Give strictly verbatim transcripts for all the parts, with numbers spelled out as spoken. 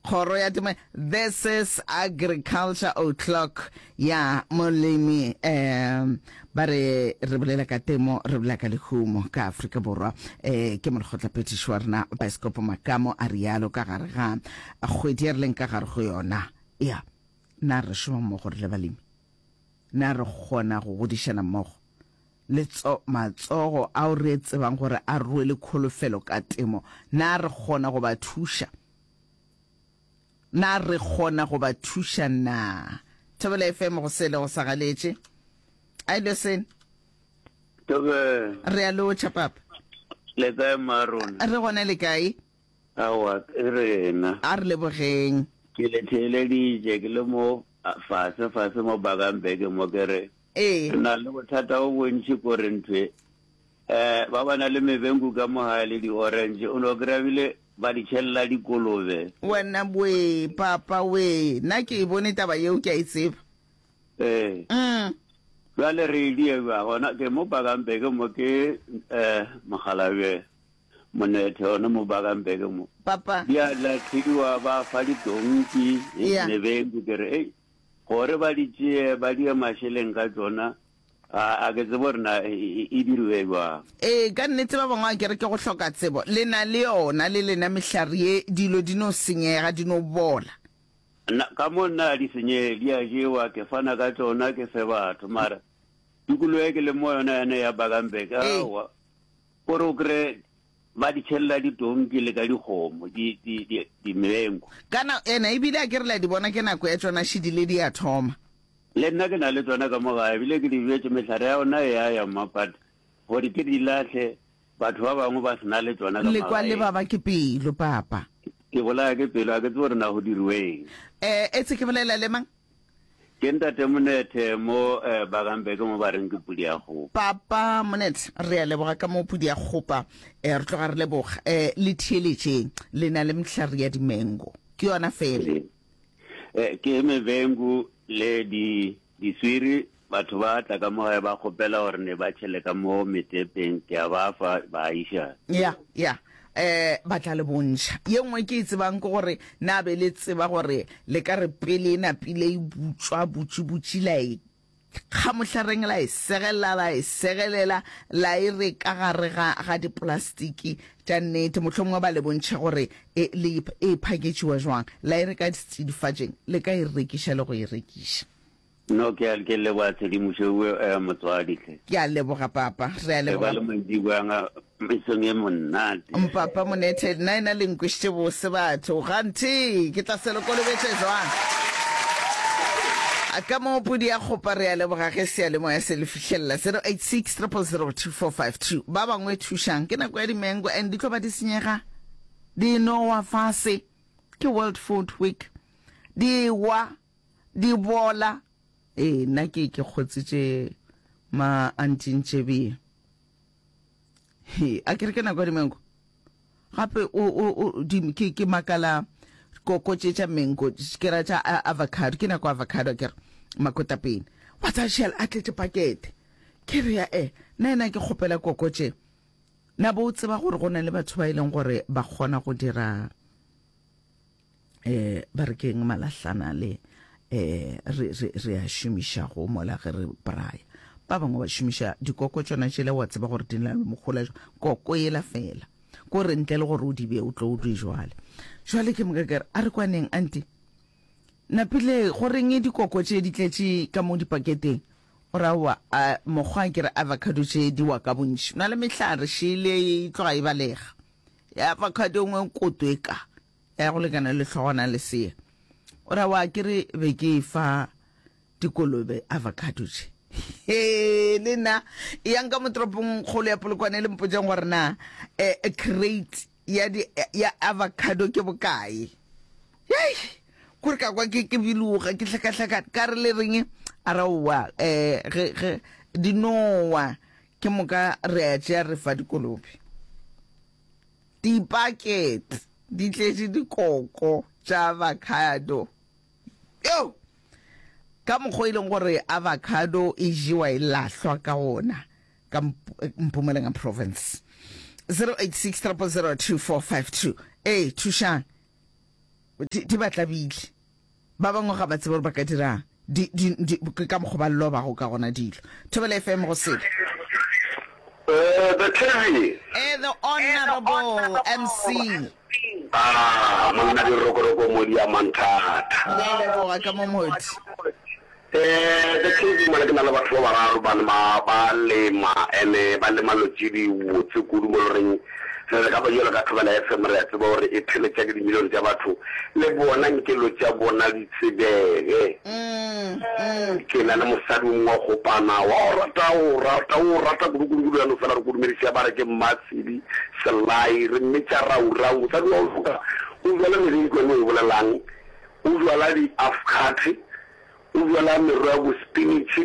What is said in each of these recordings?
Kgoro ya Temo. This is Agriculture O'Clock ya molemi. Um ba re re bolela ka temo, re bolela ka lehumo ka Afrika Borwa. Eh ke molekgotlaphethiši wa rena Baeskopo Makamo a rialo ka gare ga kgwedi ya re leng ka gare go yona. Ya na re šoma mmogo re le balemi? Na re kgona go godišana mmogo? Le tso, matsogo ao re tsebang gore a rwele kholofelo ka temo, na re kgona go ba thuša? Na re kgona go ba thuša na? Thobela F M go sele go sa galetše. A ile sene? Thobela. Re a lotšha papa. Le kae mmarona? Re gona le kae? Aowa, ke rena. A re lebogeng. Ke le theeleditše ke le mo fase fase mo Bakamberg mo ke re. Ee. Re na le bothata bo bontši ko re nthwe. Eh ba ba na le mebenku ka mo gae le di-orange, o no kry-a bile ba di tšhelela dikolobe. Wena wee, papa wee, nna ke e bone taba yeo, ke a e tseba. Ee. Mm. Bjale re e die bjang? Gona ke mo Bakamberg mo ke eh mokgalabje Monethe gona mo Bakamberg mo. Papa. Di a lahliwa ba fa ditonki, Yeah. mebenku ke re ei gore ba di tšee ba die mašeleng ka tšona a a ke tsebe gore na e, e, e diriwe bjang. Ee, ka nnete ba bangwe a ke re ke go hloka tsebo. Le na le yona le lena mehlare ye, dilo di no senyega, di no bola. Nna, ka mo nna a di senyege, di a jewa, ke fana ka tšona ke fe batho, mara tikologo e ke leng mo yona yane ya Bakamberg, Ee. aowa, kore o kry-e ba di tšhelela ditonki le ka dikgomo, di, di, di, dimenku. Kana, ena ebile a ke re la di bona ke nako ya tšona šidile di a thoma. Le nna ke na le tšona ka mo gae, ebile ke di bjetše, mehlare ya ona e a ya mma, but gore ke di lahle, batho ba bangwe ba se na le tšona ka Le kwa le magaeng. baba ke pelo, papa. Ke bolaya ke pelo, a ke tsebe gore na go diriweng. Eh, etse ke bolela le mang? Ke ntate Monethe mo eh, Bakambe ke mo ba reng ke pudi ya kgopa. Papa Monethe, re a leboga ka mo pudi ya kgopa. Eh, re tloga re leboga. Eh, le theeletšeng, le na le mehlare ya dimengo. Ke yona fela. Eh, eh, ke mebengu le di diswiri, batho ba tla ka mo gae ba kgopela gore ne ba tšhele ka mo metepeng, ke a ba fa ba iša. Ya, ya. Eh, ba tla le bontšha. Ye nngwe ke e tsebang ke gore na be le tseba gore le ka re pele e napile e butšwa butši-butši la e kga mohlareng, la e segelela, la e segelela, la e re ka gare ga, ga diplastiki tša nnete. Mohlomongwe ba le bontšhe gore e, le, e phaketšiwa jwang. La e re ka setsidifatšeng, le ka e rekiša le go e rekiša. No, ke a, ke leboga tshedimošo eo, eh, motswadi hle. Ke a leboga papa, re a Le ba leboga. le mantšiboang mesong e monate. Mpapa Monethe, nna ena le nkwešitše bose batho. Ganthe ke tla se le kolobetše jwang? A ka mo pudi ya kgopa, re a leboga ge seyalemoya se le fihlelela zero eight six triple zero two four five two. Ba bangwe thušang, ke nako ya dimengo and di tlo ba di senyega, di nowa fase. Ke World Food Week, di wa, di bola. Ee, nna ke ke kgotsitše ma antintšebie. He, a ke re ke nako ya dimengo. Gape o, o, o, di, ke, ke makala koko tše tša mengo, ke ra tša avocado, ke nako avocado ke re makotapene. Wa tsa shell a tletše pakete. Ke re ya e, nna ena ke kgopela koko tše. Na bo o tseba gore go na le batho ba e leng gore ba kgona go dira eh ba re keng malahlana le eh re re re a šomiša go mola ge re braya. Ba bangwe ba šomiša dikoko tšona tšela, wa tseba gore di na le mogola jwang, koko yela fela ko re ntle le gore o di bee o tlo o di jwale. Jwale ke moka ke re a re kwaneng anti napile go reng dikoko tše di tletše ka mo dipaketeng. O ra wa a mokgwa ke re avocado tše di wa ka bontši, na le mehlare šele e tloga e balega ya avocado nngwe koto e ka ya go lekana le hlogwana le sea. O ra wa ke re be ke fa dikolobe avocado tše. He le nna yang ka mo toropong kgolo ya Polokwane le mpotšeng gore na eh, crate ya di, ya avocado ke bokae. Hei, kore ka kwa ke ke biloga ke hlakahlakana ka re le reng a ra oa eh ge ge di nowa ke moka re a tšea re fa dikolobe. Dipakete di tletše dikoko tša avocado. Yo! Ka mokgwa e leng gore avocado e jewa e lahlwa ka ona ka Mpumalanga province. zero eight six triple zero two four five two. Ee, thušang. Di, di ba tlabile. Ba bangwe ga ba tsebe gore ba ka dirang. Di, di, di, ke ka mokgwa ba lobago ka gona dilo. Thobela F M go sele. Eh, the T V. Eh, the Honorable M C. Ah, monna dirokoroko mo di amang thata. Re a leboga ka mo modi. Eh, the T V mola ke na le batho ba bararo ba ba, ba lema, ene ba lema lo tše di botse kudu mo loreng re re ka ba jalo ka Thobela F M re a tseba gore e theletša ke dimilione tša batho le bona nkelo tša bona di tsebege. Mm, mm. Ke na le mosadi o mongwe wa kgopana wa o rata, o rata, o rata kudu kudu kudu, ya no fela re kodumediša ba re ke Mmatshidi Selai, re mmetša Raurau. Mosadi wa o loka, o jwala meriri ke yone o e bolelang, o jwala di-afcate, o jwala merogo ya bo spinach,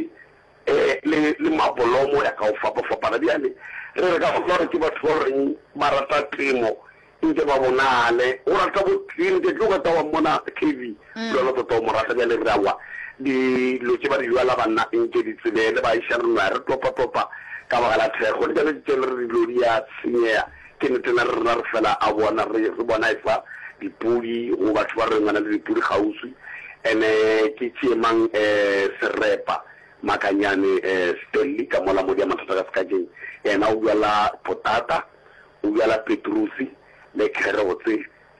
eh, le, le mabolomo ya ka go fapafapana. Bjale re re ka gopola gore ke batho ba goreng ba rata temo nke ba bonale, o rata bo clean, ke tlo ka wa mmona K V, Mm. lona tota o mo rata. Bjale re awa dilo tše ba di jwala banna nke di tsebele, ba iša re nwa re topa-topa ka baka la thekgo. Le tšone tše le re dilo di a senyega, ke nnete na re rena re fela a bona re, re bona e fa dipudi go batho ba re ngwana le dipudi kgauswi. Ene ke tšeemang, eh, serepa Makanyane, eh, Stanley ka mola modi ya mathata ka sekakeng, yena o bjala potata, o bjala petrusi le carrots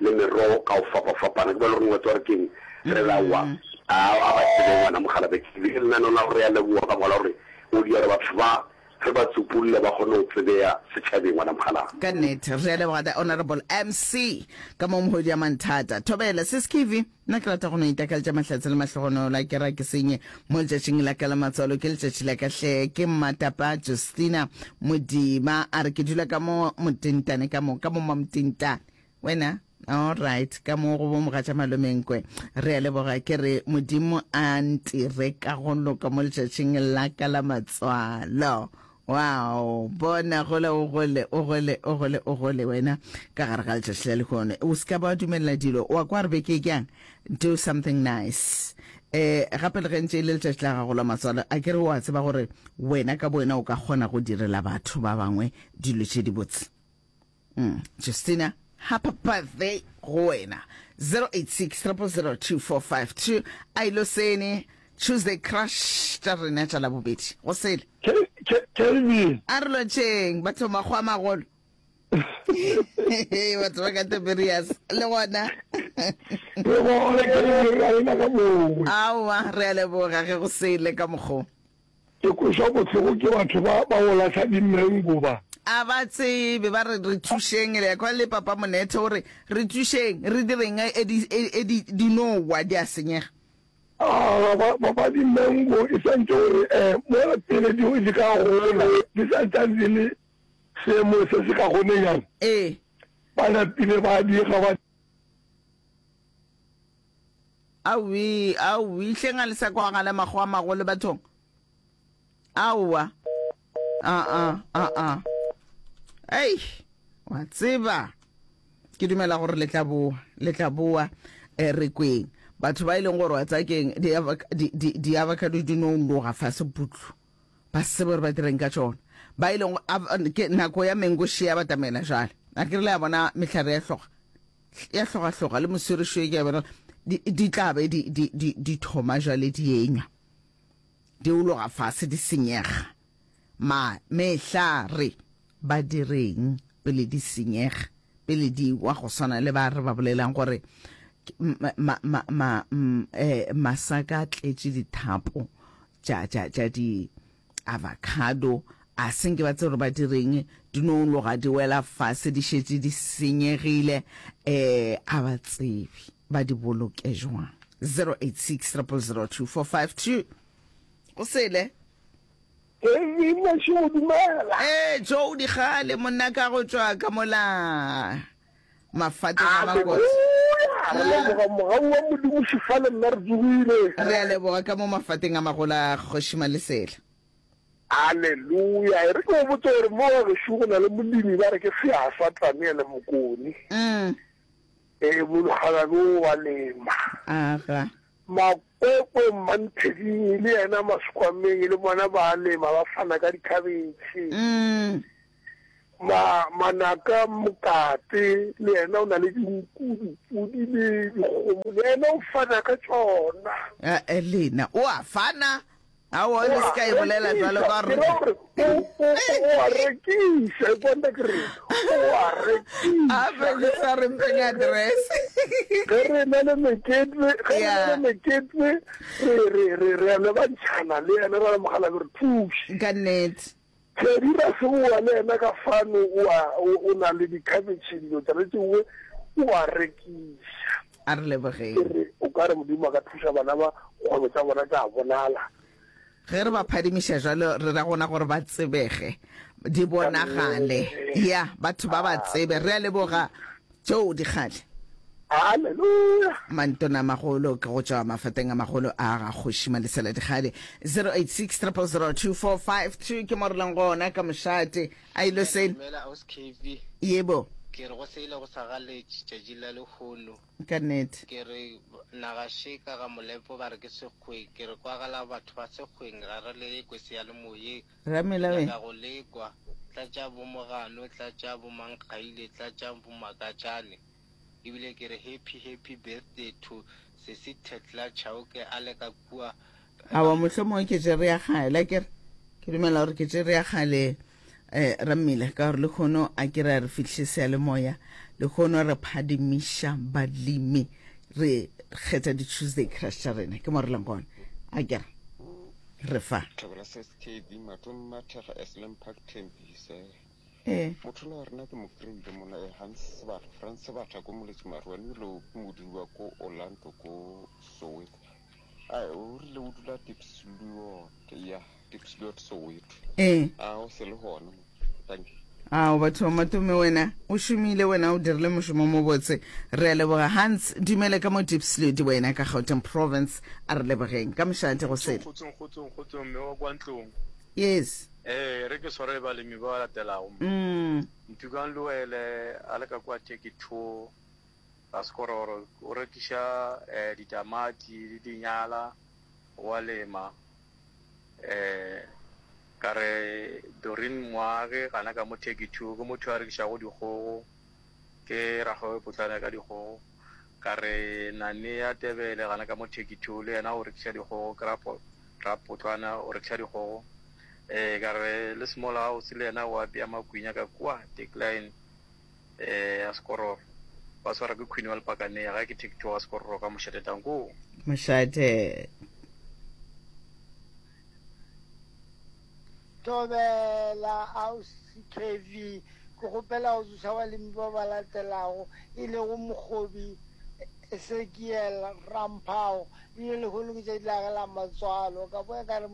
le merogo ka go fapafapana. Ke ba le gore ngwetsi wa re keng re lawa a, a ba tsebe ngwana mogala be ke le lenaneo la gore ya leboga ka mola gore o di gore batho ba re ba tsupulle ba kgone go tsebeya setšhabeng ngwana mogala. Ka nnete re a leboga the Honorable M C ka mo mohodi ya manthata. Thobela sis Kivi, nna ke rata go no itakaltša mahlatse le mahlogonolo a ke ra ke senye mo letšatšing la ka la matswalo, ke letšatši la ka hle. Ke Mmatapa Justina Modima a re ke dula ka mo Motentane, ka mo, ka mo Mamotentane. Wena? All right, ka mo go bo mogatša malomenkwe. Re a leboga, ke re Modimo a ntire ka go loka mo letšatšing la ka la matswalo. Wow, bona gole o gole, o gole, o gole, o gole wena ka gare ga letšatši la lehono. O se ka ba dumelela dilo, wa kwa re beke kang? Do something nice. Eh, gape le ge ntše e le letšatši la gago la matswalo, a ke re wa tseba gore wena ka bo wena o ka kgona go direla batho ba bangwe dilo tše dibotse. Mm, Justina, happy birthday go wena. zero eight six triple zero two four five two. A ilo sene Tuesday crush tša rena tša labobedi. Go sele. Ke-, ke-, Kelvin. A re lotšheng, batho makgwa a magolo. Batho ba ka Tiberias le gona. Re gona, Kelvin, ra lena ka mongwe. Aowa, re a leboga ge go sele ka mokgo. Ke kwešwa bohloko ke batho ba, ba go lahla dimengo ba. A ba tsebe, ba re re thušeng, le ya kwa le papa Monethe o re re thušeng, re direng e di, e, e di, di no wa di a senyega. Ah, ba, ba, ba dimengo e santse gore, eh, mola pele di, di ka gola, di santse di le seemo se se ka gonenyana. Ee. Ba napile ba diga ba. Aowi, aowi, hleng a le sa kwagala makgowa a magolo bathong. Aowa. A, a, a, a. Ei, wa tseba. Ke dumela gore le tla boa, le tla boa, eh, re kweng. Batho ba e leng gore wa tsaya keng, di avoc-, di, di, di avocado di no loga fase putlu. Ba se tsebe gore ba direng ka tšona. Ba e leng go, av-, ke nako ya mango she ya batamela jwale. A ke re le a bona mehlare ya hloga. Ya hloga hloga le moswirišo e ke a bona, di, di tla be di, di, di, di thoma jwale di enywa. Di ologa fase di senyega. Ma mehlare ba direng pele di senyega, pele di wa go swana le ba re ba bolelang gore ma, ma, ma, ma, m, eh, masaka a tletše dithapo tša, tša, tša di avocado, a senke ba tsebe gore ba direng, di no loga di wela fase, di šetše di senyegile, eh, a ba tsebe ba di boloke jwang. zero eight six triple zero two four five two. Go sele. Ee, mašego, dumela. Ee, Joe Digale, monna ka go tšwa ka mola mafateng a Hallelujah. Makotse. Re leboga mogau wa Modimo šefale nna re tsogile. Re a leboga ka mo mafateng a magolo a Kgoši Malesela. Hallelujah. E re ke go botse gore mo ga gešo go na le molemi ba re ke Seasa Daniel Mokone. Mm. Ee, mologagane o wa lema. Aga. Makwekwe Mmantheding le yena Maskwameng le bona ba lema, ba fana ka dikhabetšhe. Mm. Ma, Manaka Mokate le yena o na le dinku, dipudi le dikgomo, le yena o fana ka tšona. Eh, lena o a fana? Aowa, le se ka e bolela bjalo ka gore. Ke ra gore o, o, o a rekiša, e kwa nna ke re o a rekiša. Gape le sa re mpheng address. Ge re na le mekete, ge re na le mekete, re, re, re, re a lebantšhana le yena, ra le mogala re thuše. Ka nnete. Teddy Raseboa le yena ka fano o a, o, o na le dikhabetšhe, dilo tšona tše dingwe o a rekiša. A re lebogeng. Ke re, o ka re Modimo a ka thuša bana ba, kgwebo tša bona tša bonala. Ge re ba phadimiša jwalo, re ra gona gore ba tsebege, di bonagale. Ya, batho ba ba tsebe. Re a leboga, Joe Dikgale. Haleluya! Mantona a magolo ke go tšwa mafateng a magolo a ga Kgoši Malesela Dikgale. Zero eight six triple zero two four five two ke mo re leng gona ka mošate. A ilo se. Dumela Aus K V. Yebo. Ke re go se ile go sa galetše tšatši la lehono. Ka nnete. Ke re naga še ka ga Molepo ba re ke Sekgweng. Ke re kwagala batho ba Sekgweng ga re le kwe seyalemoyeng. Re Ramela we. nyaka go le kwa. Tlatša bo Mogano, tlatša bo Mankgaile, tlatša bo Makatšane. Ebile ke re happy happy birthday to sesi Thekla Chauke a le ka kua. Aowa, mohlomongwe ke tšere ya kgale, akere? Ke dumela gore ke tšere ya kgale, eh, Rammila, ka gore lekgono a ke re a re fihle seyalemoya. Lekgono re phadimiša balemi, re kgetha di-Tuesday crush tša rena. Ke mo re leng gona, akere? Re fa. Thobela S K V Matome Mathekga Esselen Park Tembisa. Ee. Motho la wa rena ke mo kry-ile mola e Hans Sebata, Frans Sebata ko Moletši Maruane ebile o ke modudi wa ko Orlando ko Soweto. Ai, o rile o dula Diepsloot, ya, Diepsloot Soweto. Ee. A o se le gona mo. Thank you. Ao batho ba Matome wena o šomile wena o dirile mošomo mo botse re a leboga Hans dumele ka mo Diepsloot wena ka Gauteng province a re lebogeng ka mošate go sele. Kgotsong kgotsong kgotsong mme wa kwa ntlong. Yes. Ee, re ke swarele balemi ba ba latelago mo. Mm. Ntukang Luele a le ka kua Turkey Two, ga Sekororo, o rekiša eh, ditamati le dinyala, o a lema. Eh, ka re Doreen Moagi gana ka mo Turkey Two, ke motho a rekišago dikgogo, ke rakgwebo potlana ka dikgogo. Ka re Nanea Tebele gana ka mo Turkey Two, le yena o rekiša dikgogo, ke rapo, rapotlwana o rekiša dikgogo. Ee, ka re le Small House le yena o apea makwinya ka kua Decline eh, ya Sekororo. Ba swara ke Queen wa Lepakanea, ga ke Take Two ga Sekororo ka mošate tanko. Mošate. Thobela Ausi K V, ke kgopela go tsoša balemi ba ba latelago, e lego Mokgobi Esekiel Ramphao, ebile lehono ke tšatši la gage la matswalo. Ka boya ka re,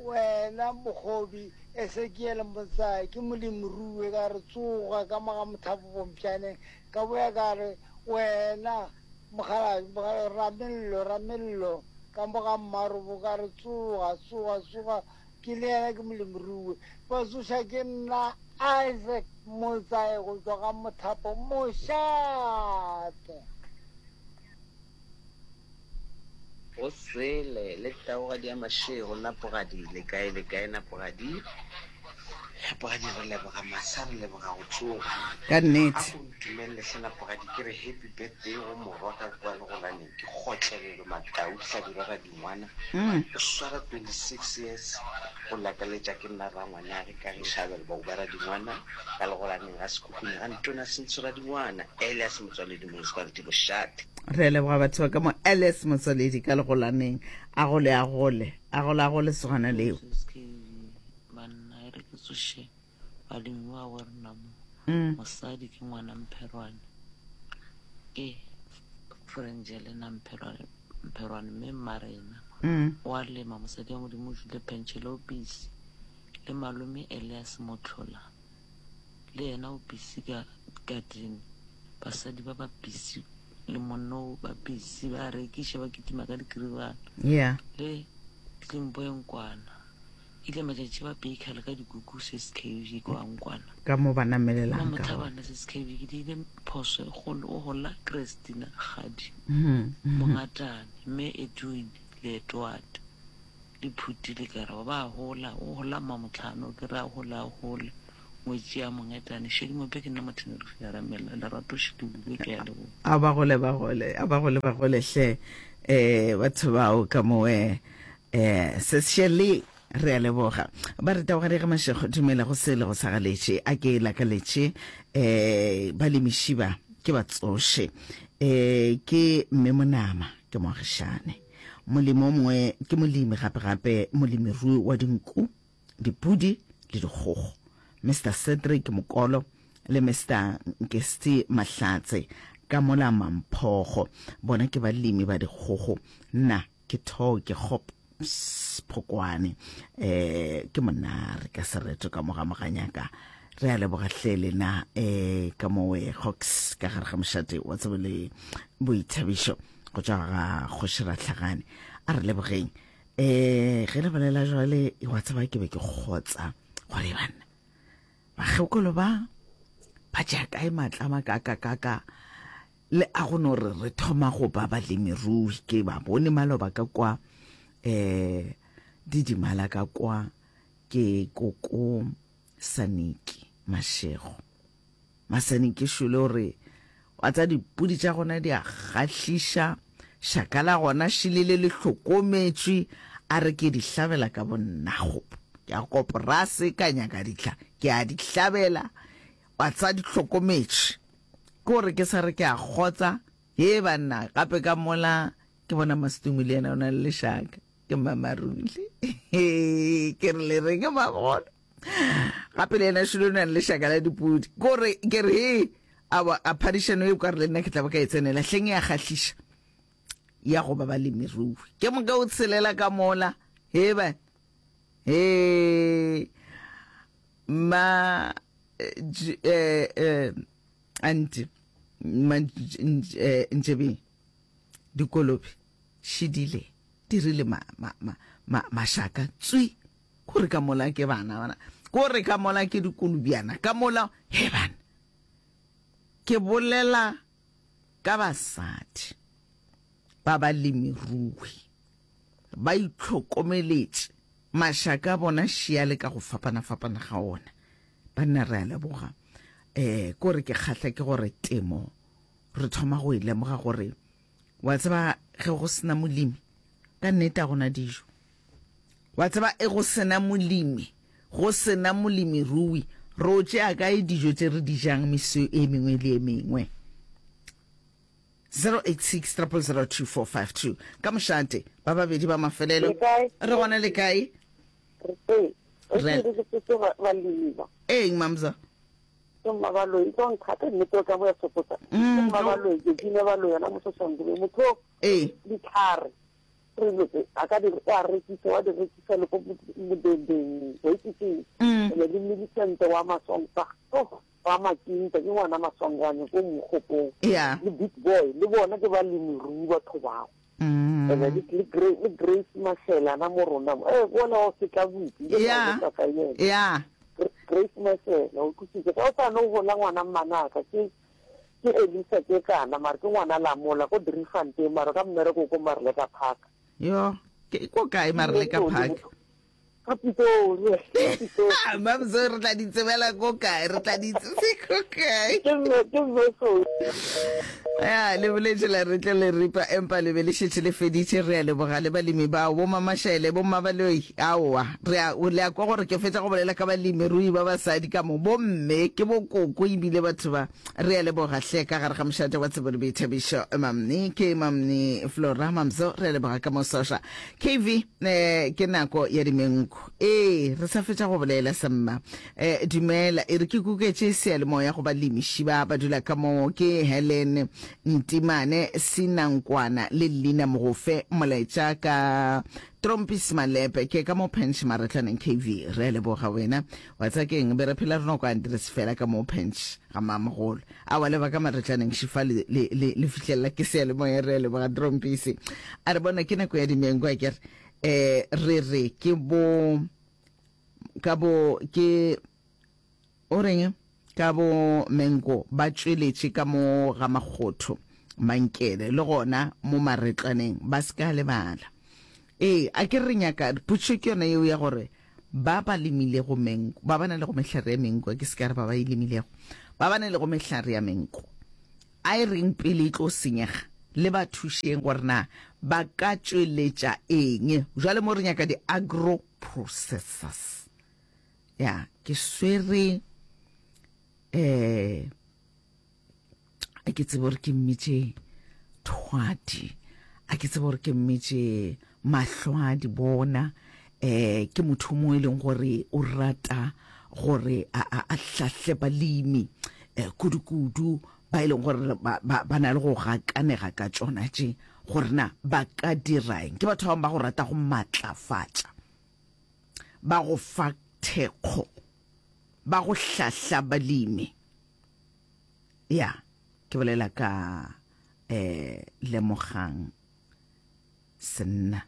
Wena Mokgobi Esekiel Motsae, ke molemirui, ka re, Tsoga ka mo ga mothapo Pompšaneng. Ka boya ka re, Wena mokgalabje, mokgalabje Ramello, Ramello, ka mo ga Mmarobo, ka re, Tsoga, tsoga, tsoga, ke le yena ke molemirui. Ba tsoša ke nna Isaac Motsae go tšwa ga mothapo Mošate. Go sele le taugadi ya mašego Napogadi le kae le kae Napogadi Napogadi re leboga masa re leboga go tsoga Ka A nnete. ko ntumelele hle Napogadi ke re happy birthday go morwa ka kua Legolaneng ke Kgotlelelo Matau Hlabirwa Radingwana Mm. o swara twenty six years go lakaletša ke nna rangwanage Kagišo Abel Bauba Radingwana ka Legolaneng ga Sekhukhune ga Ntona Sentsho Radingwana Elias Motswaledi Municipality Bošate. Re a leboga batho ba ka mo Alice Motswaledi ka Legolaneng. A gole a gole, a gole a gole sogana leo. Moses K V, Banna e re ke tsoše balemi ba bo rena mo. Mm. Mosadi ke ngwana Mpherwane. Ke Frenjelena Mpherwane, Mpherwane mme mmarena. Mm. O a lema mosadi wa Modimo o jule pentšhele o busy. Le malome Elias Motlhola le yena o busy ka garden. Basadi ba ba busy le monna o ba busy ba rekiša ba kitima ka dikiribana. Yeah. Le Tlimbo e nkwana. Ile matšatši ba baker le ka dikuku S S K V kwa nkwana. Ka mo ba namelelang ka gona. Mamothabana S S K V ke diile phoso e kgolo o gola Christina Kgadi. Mm-hmm. Mongatane mme Edwin le Edward le Phuti le Karabo ba gola o gola mamotlhano ke ra gola gola Ngwetši ya Mongetane, Šedi Mope ke nna Mothenerife ya Ramela, Lerato Šidulwe, ke a leboga. A ba gole ba gole, a ba gole ba gole hle eh batho bao ka moe eh se Shirley re a leboga. Ba re taboga ge Mashego dumela go se le go sa galetše a ke lakaletše eh balemiši ba ke ba tsoše eh ke mme Monama ke moagišane molemi o mongwe ke molemi gape gape molemirui wa dinku dipudi le dikgogo Mister Cedric Mokolo le Mister Nkesti Mahlatse ka mola Mamphogo bona ke balemi ba dikgogo nna ke thoke kgop Phokwane eh ke monare ka sereto ka moga moganyaka re a leboga hle lena eh ka mowe Hawks ka gare ga mošate wa tsebo le boithabišo go tšwa ga kgoši Rahlagane a re lebogeng eh ge le bolela jwale wa tseba ke be ke kgotsa gore banna bakgekolo ba ba tšea kae maatla a makakakaka le a go no re re thoma go ba balemirui ke ba bone maloba ka kwa eh didimala ka kwa ke koko Saniki Mashego Masaniki šole o re wa tsa dipudi tša gona di a kgahliša šaka la gona šilele le hlokometšwe a re ke di hlabela ka bonnago ke a koporase ka nyaka dihla ke a di hlabela wa tsa di hlokometšwe ke gore ke sa re ke a kgotsa he banna gape ka mola ke bona Mastumi le yena o na le lešaka ke Mmamarule ke re le reng mabona gape le yena šolo o na le lešaka la dipudi ke gore ke re he a a phadišano e ka re le nna ke tla ba ka e tsenela hleng ya kgahliša ya go ba balemirui ke moka o tshelela ka mola he ba he ma eh eh anti ma ntšebeng dikolobe šidile dirile ma ma ma ma mašaka tswi kore ka mola ke bana bana kore ka mola ke dikolobiana ka mola he bana ke bolela ka basadi ba balemirui ba itlhokomeletše mašaka a bona šiale ka go fapana-fapana ga ona banna re a leboga eh kore ke kgahla ke gore temo re thoma go e lemoga gore wa tseba ge go sena molemi ka nnete a gona dijo wa tseba e go sena molemi go sena molemirui re o tšea kae dijo tše re di jang meso e mengwe le e mengwe zero eight six triple zero two four five two ka mošate ba babedi ba mafelelo re gona le kae re eng mamza ke mmabaloi tlo nthata nnete o ka mo ya sopotsa ke mmabaloi ke dine baloi yona mososangube motho ee ditlhare re lotse a ka di o a rekisa wa di rekisa le ko modendeng wa itse ke ene le Millicent wa Masonga oh wa Makinta ke ngwana Maswangwane ko Mogopong yeah le Big Boy le bona ke balemirui batho bao ene le le Grace le Grace Mashela na mo rona mo eh bona o setla botsi yeah yeah Grace Mashela o kusitse ka o sa no gola ngwana mmanaka ke ke Elisa ke kana mara ke ngwana lamola ko Driefontein mara ka mmereko ko Marleka Park yo ke ko kae Marleka Park ka Pitori Pitori Mamzo re tla di tsebela ko kae re tla di tsebe ko kae ke mme ke mme so ya le boletše la re tle le ripa empa le be le šetše le feditše re a leboga le balemi bao bo Mamašele bo Mmabaloi aowa re a le a kwa gore ke fetša go bolela ka balemirui ba basadi ka mo bomme ke bokoko ebile batho ba re a leboga hle ka gare ga mošate wa tsebo le boithabišo mamne ke mamne Flora Mamzo re a leboga ka mo soša K V eh ke nako ya dimenko ee re sa fetša go bolela semma eh dumela e re ke kuketše seyalemoya go balemiši ba ba dula ka mo ke Helen Ntimane Sinankwana le Lina Mogofe molaetša ka Trompis Malepe ke ka mo Pench Maretlaneng K V re a leboga wena wa tsa keng be re phela re no kwa Andres fela ka mo Pench ga mamogolo a wa leba ka Maretlaneng šifa le le le, le fihlelela ke seyalemoya re a leboga Trompisi a re bona ke nako ya dimenko a kere eh re re ke bo ka bo ke o reng ka bo menko ba tšweletše ka mo ga makgotho mankele le gona mo maretlaneng ba se ka lebala ee a ke re nyaka potšo ke yona yeo ya gore Ba ba lemilego menko, ba ba na lego mehlare ya menko, ke se ka re ba ba e lemilego, ba ba na lego mehlare ya menko, a e reng pele e tlo senyega, le ba thušeng gore na ba ka tšweletša eng. Jwale mo re nyaka di-agro processors. Ya, ke swere eh a ke tsebe gore ke mmitše thwadi a ke tsebe gore ke mmitše mahlo a di bona um ke motho mo e leng gore o rata gore a, a, a hlahle balemi um kudu-kudu ba e leng gore ba, ba, ba na le go gakanega ka tšona tše gore na ba ka diraeng ke batho ba bangwe ba go rata go matlafatša ba go fa thekgo ba go hlahla balemi ya ke bolela ka um lemogang senna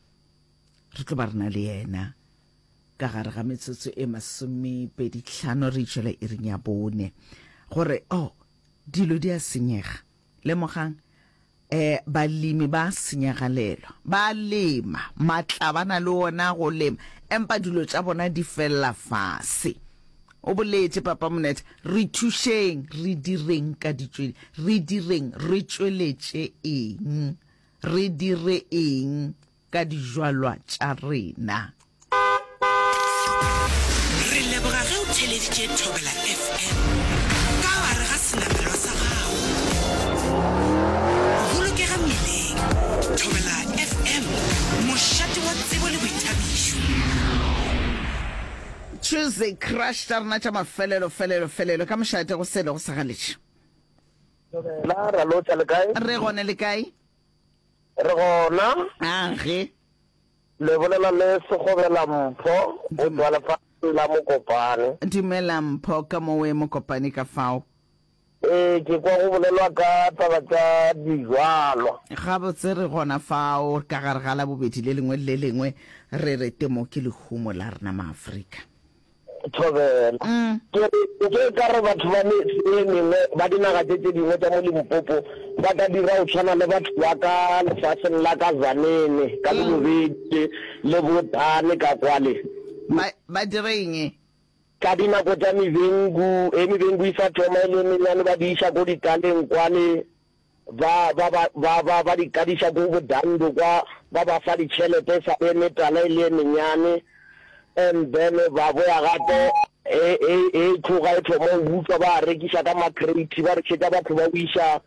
re tlo ba re na le yena ka gare ga metsotso e masomepedi tlhano re itšwela iring ya bone gore oh dilo di a senyega lemogang eh balemi ba senyagalelwa ba lema matla ba na le ona go lema empa dilo tša bona di fella fase o boletše papa Monetha re thušeng re direng ka ditšwele re direng re tšweletše eng re dire eng ka dijwalwa tša rena. Re leboga ge o theeleditše Thobela FM ka gare ga senamelwa sa gago. Bolokega mmileng. Thobela FM, mošate wa tsebo le boithabišo. Tuesday crush tša rena tša mafelelo felelo felelo ka mošate go sele go sa galetše. Thobela, ra lotša le kae? Re gone le kae? Re gona. A ge. Le bolela le Sekgobela Mpho go tšwa lefatsheng la Mokopane. Dumela Mpho, ka mowe Mokopane ka fao? Ee, ke kwa go bolelwa ka taba tša dijwalwa. Gabotse re gona fao ka gare ga Labobedi le lengwe le le lengwe re re temo ke lehumo la rena Maafrika. Thobela. Ke re, nke e ka re batho ba metse e mengwe, ba dinaga tše tše dingwe tša mo Limpopo, ba ka dira go tshwana le batho ba ka lefaseng la ka Tzaneen, ka Bobedi le bo Dane ka kwale. Ba, ba dire eng? Ka dinako tša mebengu, ge mebengu e sa thoma e le e menyane, ba di iša ko ditaleng kwale, Ba, ba, ba, ba, ba, ba di kadiša ko bodando kwa, ba ba fa ditšhelete e sa le e metala e le e menyane, and then ba boya gape, e, e, e tloga e thoma go butšwa, ba a rekiša ka makrate, ba rekišetša batho ba go iša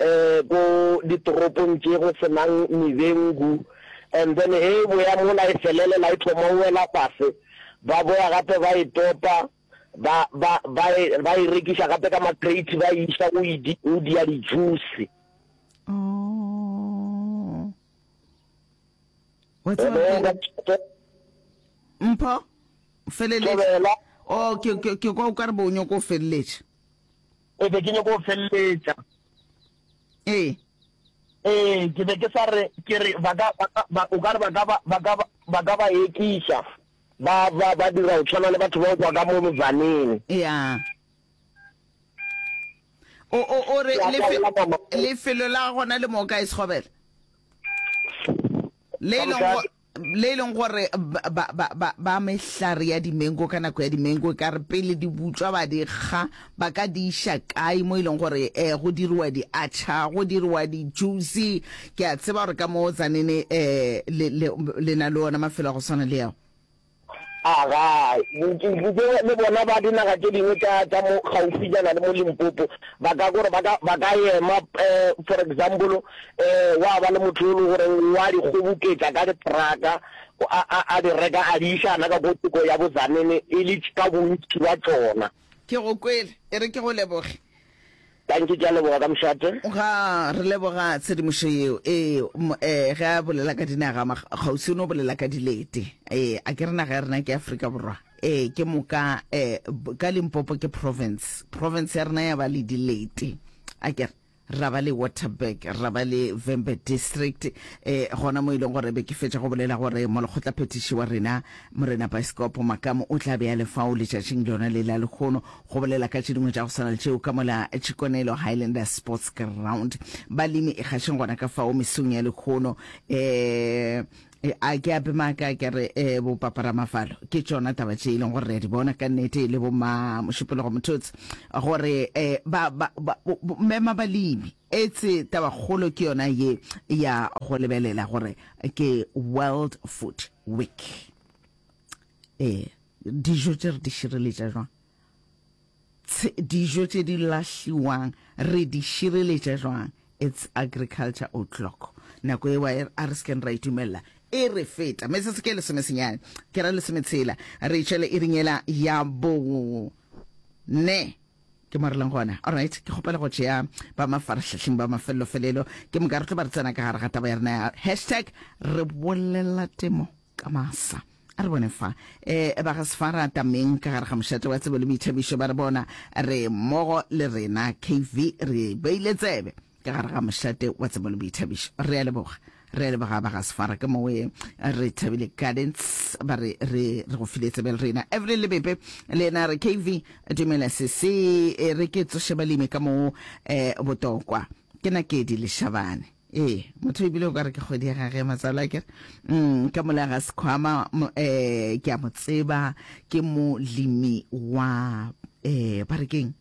um ko ditoropong tše go se nang mebengu, and then ge e boya mola e felelela e thoma go wela fase, ba boya gape ba e topa. Ba, ba, ba e, ba e rekiša gape ka makrate, ba e iša go e di, go dia di-juice. Oh. Wa tseba Hello, ke- Mpho, feleletša. Thobela. Oh, ke ke ke kwa o ka re bo o nyoko o feleletša. E be ke nyoko o feleletša. Ee. Ee, ke be ke sa re, ke re ba ka, ba ka, ba, o ka re ba ka ba, ba ka ba, ba ka ba ekiša. Ba, ba, ba dira go tshwana le batho ba go tšwa ka mo motsaneng. Ya. O, o, o re Ke a lefe, tla mama. lefelo la gona le mo kae Sekgobela? Le e leng go, le e leng gore ba, ba, ba, ba, ba mehlare ya dimengo ka nako ya dimengo e ka re pele di butšwa ba di kga, ba ka di iša kae mo e leng gore eh, go diriwa di-atchar, go diriwa di-juice. Ke a tseba gore ka mo Tzaneen eh, le, le, le na le ona mafelo a go swana le ao. Aga, nke le bona ba dinaga tše dingwe tša, tša mo kgaufijana le mo Limpopo, ba ka gore ba ka, ba ka ema, eh, for example, eh, wa ba le motho yo e le goreng wa di kgoboketša ka di-truck-a, a, a, a di reka a di iša gana ka ko thoko ya bo Tzaneen e le ka bontši bja tšona. Ke go kwele, e re ke go leboge. Dankie, ke a leboga ka mošate. Ga re leboga tshedimošo yeo. Ee, eh, ge a bolela ka dinaga kgauswi o no bolela ka dilete. Ee, a ke re naga ya rena ke Afrika Borwa. Ee, ke moka eh, ka Limpopo ke province. Province ya rena ya ba le dilete. A ke re ra ba le Waterberg, ra ba le Vhembe District, eh, gona mo e leng gore be ke fetša go bolela gore molekgotlaphethiši wa rena Morena Baesekopo Makamu o tla be a le fao letšatšing lona le la lehono go bolela ka tše dingwe tša go swana le tšeo ka mola Tshikonelo Highlanders Sports Ground. Balemi e gašeng gona ka fao mesong ya lehono. Eh, E, a ke ape maaka ke re eh, bo paparamafalo ke tšona taba tše e leng gore re a di bona ka nnete le bo ma mošupologo mothotse gore eh, ba, ba, ba, bo, bo, mema balemi etse tabakgolo ke yona ye ya go lebelela gore ke World Food Week. Ee, dijo tše re di šireletša jwang? Tshe, dijo tše di lahliwang re di šireletša jwang? It's agriculture o'clock. Nako ewa e, a re se keng ra itumelela e re feta. Metsotso ke lesomesenyane, ke ra lesometshela, re tšwele iring yela ya bo ne. Ke mo re leng gona. Alright, ke kgopela go tšea ba mafarahlahleng ba mafellofelelo, ke moka re tlo ba re tsena ka gare ga taba ya rena ya hashtag re bolela temo ka masa. A re bone fa. E, ba ga Sefara Tameng ka gare ga mošate wa tsebo le boithabišo ba re bona re mmogo le rena K V re beile tsebe ka gare ga mošate wa tsebo le boithabišo. Re a leboga. Re a leboga ba ga Sefara ka mowe re thabile Gardens ba re re re go file tsebe le rena. Evelyn Lebepe le yena re K V dumela sese e re ke tsoše balemi ka mo eh botokwa. Ke Nakedi Leshabane. Ee, motho ebile o ka re ke kgwedi ya gage ya matswalo akere. Mm, ka mola ga Sekhwama um ke a mo tseba, ke molemi wa um ba re keng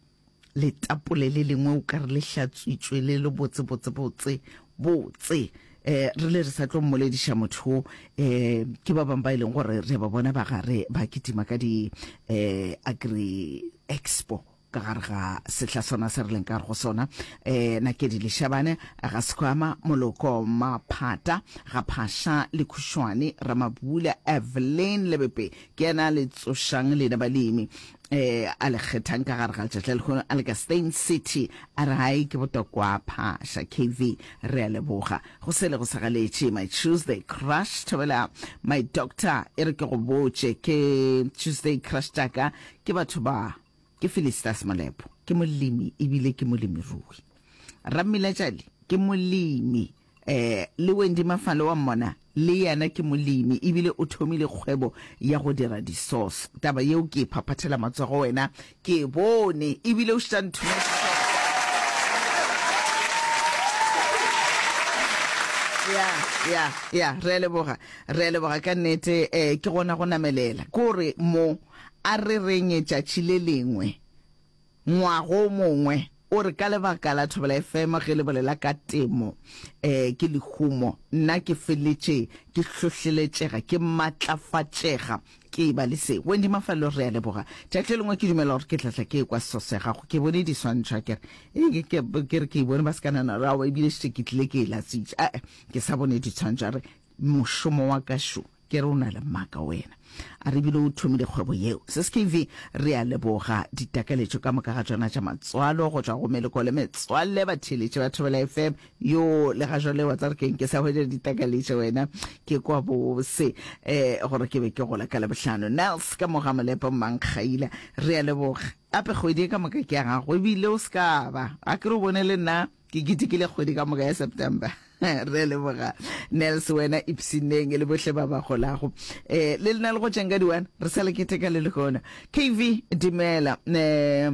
letapole le lengwe o ka re le hlatswitšwe le le botse botse botse botse. Eh, re le re sa tlo mmolediša motho eh ke ba bangwe ba e leng gore re ba bona ba gare ba kitima ka di eh agri expo ka gare ga sehla sona se re leng ka gare go sona. Um Nakedi Leshabane, ga Sekhwama, Moloko, Maphata, ga Phasha le Khušwane, Ramabula, Evelyn Lebepe, ke yena a le tsošang lena balemi um a le kgethang ka gare ga letšatši la lehono a le ka Steyn City. A re hai ke botokwa Phasha K V, re a leboga. Go sele go sa galetše my Tuesday crush, thobela my doctor, e re ke go botše ke Tuesday crush tšaka ke batho ba. Ke Felistas Molepo, ke molemi ebile ke molemirui. Rammilatšali ke molemi. Eh, le Wendy Mafalo wa mmona, le yena ke molemi ebile o thomile kgwebo ya go dira di-sauce. Taba yeo ke e phaphathela matsogo wena, ke e bone ebile o šetša nthometse Ya, ya, ya, re a leboga, re a leboga ka nnete. Eh, ke gona go namelela, ke gore mo A re reng tšatši le lengwe, ngwaga o mongwe, o re ka lebaka la Thobela F M ge le bolela ka temo, eh, ke lehumo, nna ke feletše ke hlohleletšega, ke matlafatšega, ke eba le se. Wendy Mafalo, re a leboga. Tšatši le lengwe ke dumela gore ke tla tla ke ekwa seso sa gago. Ke bone diswantšho, akere? Ee, ke, ke, ke re ke e bone ba se ka nana gore aowa, ebile šetše ke tlile ke e latswitše. Ae, ke sa bone ditshwantšho. A re, Mošomo wa ka šo. Ke re o na le maaka wena. A re ebile o thomile kgwebo yeo. Sis K V, re a leboga ditakaletšo ka moka ga tšona tša matswalo go tšwa go meloko le metswalle batheeletši ba Thobela F M. Yoo, le ga jwale wa tseba re keng ke sa hwetša ditakaletšo wena. Ke kwa bose eh gore ke be ke gola ka Labohlano. Nels ka mo ga Molepo Mmankgaila, re a leboga. Gape kgwedi ye ka moka ke ya gago ebile o se ka ba. A ke re o bone le nna ke ketekile kgwedi ka moka ya September. Re leboga Nels, wena ipshineng le bohle ba ba golago. Eh, le lena le go tšeng ka di-one, re sa le keteka le lehono. K V, dumela. Eh,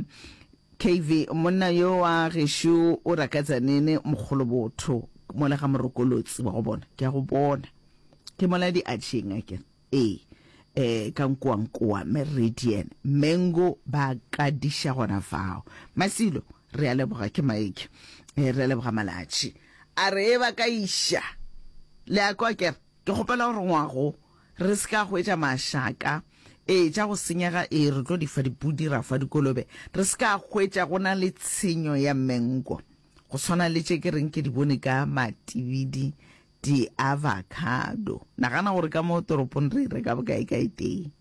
K V, monna yo wa gešo o raka Tzaneen mogolobotho mola ga Morokolotsi wa go bona. Ke a go bona. Ke mola di atšheng akere. Ee, eh, ka nkoankoa, Meridian, Mengo ba kadiša gona fao. Masilo, re a leboga ke Mike. Eh, re a leboga Malatši. A re e ba ka iša. Le a kwa kere? Ke kgopela gore ngwago re se ka hwetša mašaka. Ee, tša go senyega, ee, re tlo di fa dipudi, ra fa dikolobe. Re se ka hwetša go na le tshenyo ya mengo. Go swana le tše ke reng ke di bone ka matibidi Di-avocado. Nagana gore ka mo toropong re e reka bokae ka e tee.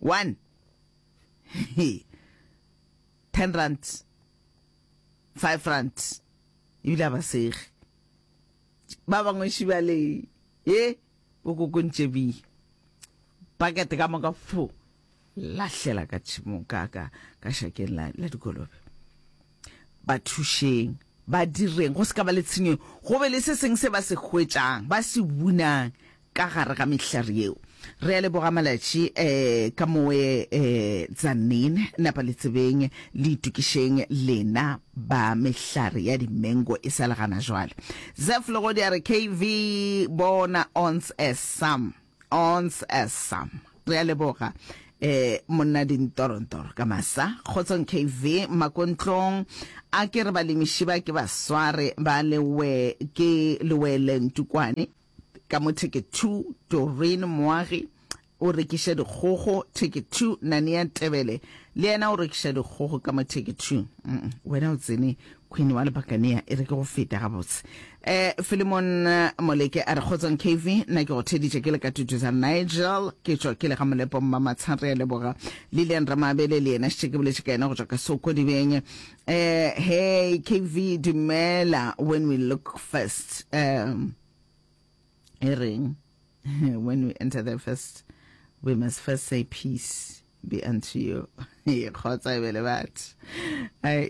One. Ten rand. Five rand. Ebile a ba sege. Ba bangwe šiba le ye bo kokontše bi. Bucket ka moka fo lahlela ka tšhemong ka ka ka šakeng la la dikolobe. Ba thušeng, ba direng, go se ka ba le tshenyo, go be le se sengwe se ba se hwetšang, ba se bunang ka gare ga mehlare yeo. Re a leboga malatši eh ka mowe eh Tzaneen napa le tsebeng le itokišeng lena ba mehlare ya dimengo e sa le gana jwale. Zeph Legodi a re K V bona ons as some ons as some. Re a leboga eh monna dintorontoro ka masa. Kgotsong K V Makontlong a ke re balemiši ba ke ba sware ba lewe ke lewele ntukwane ka mo Theke two, Doreen Moagi o rekiša dikgogo Theke two, Nania Tebele le yena o rekiša dikgogo ka mo Theke two. Mm, wena o tsene Queen wa Lebakania e re ke go feta gabotse. Eh, Philemon Moleke a re kgotsong K V, nna ke go theditše ke le ka Tutuza Nigel, ke tšwa ke le ga Molepo Mmamatsha, re a leboga. Lilian Ramabele le yena šetše ke boletše ka yena go tšwa ka Sokodibeng. Eh, hey K V dumela, when we look first um e reng when we enter there first we must first say peace be unto you. Kgotsa e be le batho.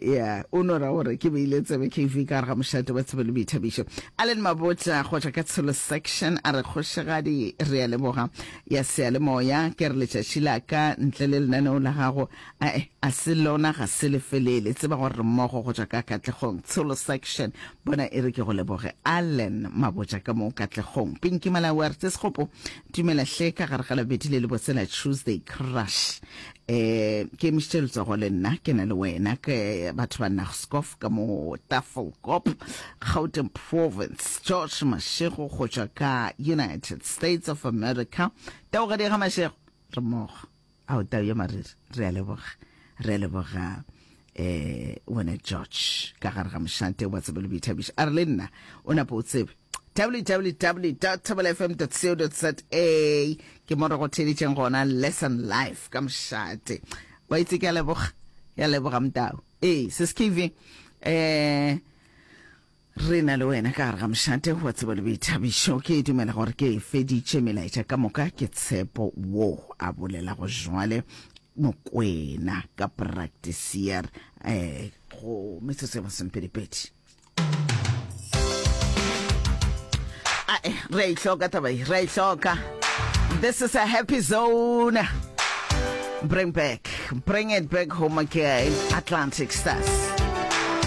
Ya o no ra gore ke beile tsebe K V ka gare ga mošate wa tsebo le boithabišo. Allen Mabotja go tšwa ka Tsholo section a re kgošigadi re a leboga ya seyalemoya ke re letšatši la ka ntle le lenaneo la gago ae a se lona ga se lefelele tseba gore re mmogo go tšwa ka Katlegong Tsholo section bona e re ke go leboge Allen Mabotja ka mo Katlegong. Pinky Malawi a re Tsesekgopo dumela hle ka gare ga labedi le lebotse la Tuesday Crush eh ke emišitše letsogo le nna ke na le wena ke batho ba Naagskof ka mo Tafelkop Gauteng Province. George Mashego go tšwa ka United States of America, taogadi ga Mashego re mmogo ao tau ya mariri re a leboga re a leboga eh wena George ka gare ga mošate wa tsebo le boithabišo a re le nna o napa o tsebe W W W dot thobelafm dot co dot za ke mo re go theeditšeng gona lesson life ka mošate wa itse ke a leboga ke a leboga motau ee sis K V eh re na le wena ka gare ga mošate wa tsebo le boithabišo ke dumela gore ke feditše melaetša ka moka ke tshepo wo a bolelago jwale Mokwena ka practiceer eh go metsotso ya masomepedipedi. Ae, re a ihloka taba ye, re a ihloka. This is a happy zone. Bring back, bring it back home again. Atlantic Stars.